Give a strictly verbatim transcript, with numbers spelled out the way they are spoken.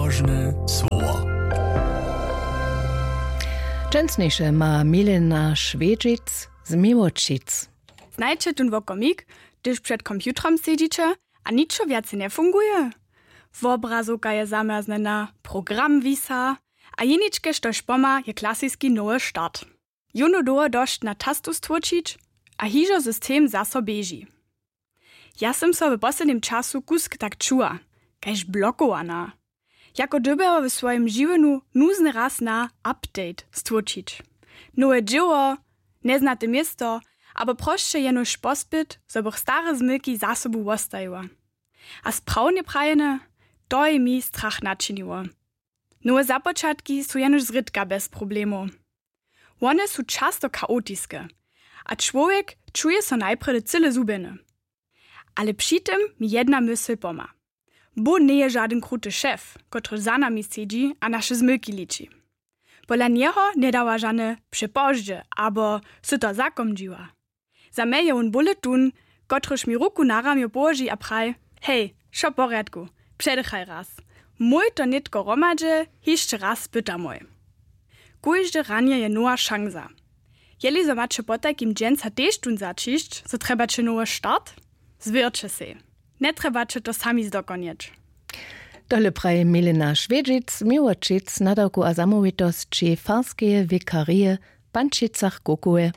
Róžne słowo. Dźensniše ma Milena Šwědźic z Miłočic. Znajće tón wokomik, hdyž před komputrom sedźiće a ničo wjace njefunguje? Wobrazowka je zamjerznjena, program wisa, a jeničke, štož pomha, je klasiski nowy start. Jónu dołho dosć na tastu stłóčić a hižo system zaso běži. Ja sym so w poslednim času kusk tak čuła, kaž blokowana. Jako dyrbjała w swojim žiwjenju nuzny raz na update stłóčić. Nowe dźěło, njeznate město, abo prosće jenož pospyt, zo bych stare zmylki za sobu wostajiła. A sprawnje prajene, to je mi strach načiniło. Nowe započatki su jenož zrědka bez problemow. Wone su často chaotiske, a čłowjek čuje so najprjedy cyle zhubjeny. Ale při tym mi jedna mysl pomha. Bóh njeje žadyn kruty šef, kotryž za nami sedźi a naše zmylki liči. Pola njeho njedawa žane přepozdźe abo sy to zakomdźiła. Za mnje je wón bóle tón, kotryž mi ruku na ramjo połoži a praji: Hej, wšo w porjadku, předychaj raz. Mój to nětko hromadźe hišće raz spytamoj. Kóžde ranje je nowa šansa. Jeli zo maće potajkim dźensa tež tón zaćišć, zo trjebaće nowy start, zwěrće sej. Njetrjebaće to sami zdokonjeć. Tole praji Milena Šwědźic, Miłočic, nadawku a zamołwitosći farskeje wikarije w Pančicach-Kukowej.